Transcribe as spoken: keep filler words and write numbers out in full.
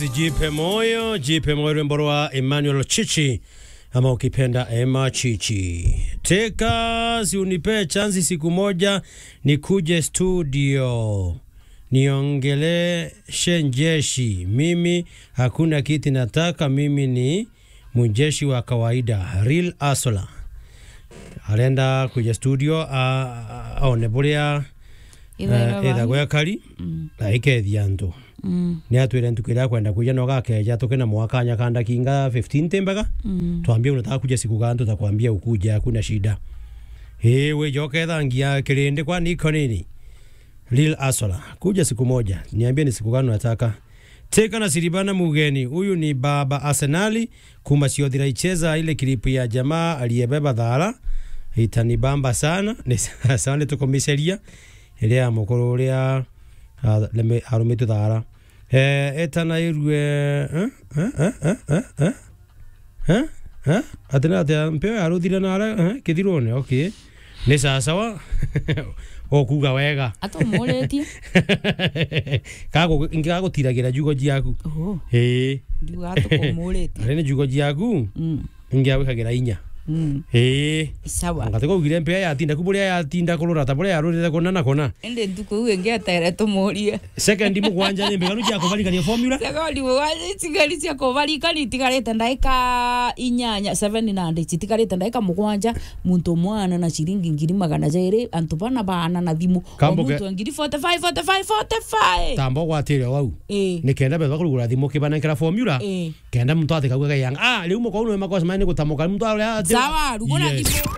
Jipe moyo, jipe moyo, rwimbo rwa Emmanuel Chichi, ama ukipenda Emma Chichi. Teka, si unipe chance siku moja nikuje studio niongeleshe njeshi. Mimi hakuna kiti nataka, mimi ni mjeshi wa kawaida, real hustler. Arenda kuja studio, a, a, aone buria, Ithairwa eh, ithagwa bani? Ekari, Mm. na ikethia antu. Mm. Ni atwire ntuku iria akwenda kuja, no gakeja tuke na mwakanya kanda kinga fifteen timbega. Mm. Twambie unataka kuja siku gani, tutakwambia ukuje, hakuna shida. Ii, wija ukethangia kirindi, kwani iko nini? Real hustler. Kuja siku moja. Niambie ni siku gani unataka. Teka na Siribana Mugeni. Huyu ni baba Arsenali. Kuma Siothira icheza ile clip ya jamaa aliyebeba thara. Itanibamba sana. Ni sawa, ni tukumiceria. Ile ya mukuru uria, ah, leme-, arumitwe thara. Eh, etana irue, eh, eh, eh, eh, eh, eh? Eh? Eh? Ati na atia mpeo yaruthire na ara, eh? Kithirone, okay. Ni sawa sawa. Okuga wega. Atumuritie. Kago, ingi gagutiragira njugo ciaku. Oho. Ii. Njuga atukumuuritie. Ari ni njugo ciaku. Mm. Ingi agwikagira inya. Mm. Ii. Sawa. Ngati kugire mpea yatinda ku buria yatinda kurura ta buria yarurire kona na kona. Indi ntuku iu ingi etere tumurie. Second mugwanja ni mbiganu cia kubarikania formula? Second mugwanja itigari cia kubarikania itigarite ndaika inyanya, seven hundred, itigarite ndaika mugwanja, muntu mwana na ciringi ngiri magana jairi, antu bana baana na thimu. O Kambuge- muntu ngiri forty-five, forty-five, forty-five. Tamba ugwatire wau. Ii. Ni kenda betha kurugura thimu kibanenkera formula. Ii. Kenda muntu atikauga gayanga. Ah, riu mukau nwe makosa mani gutamuka. Muntu aria ati- Sawa, rugura Yes. thimu.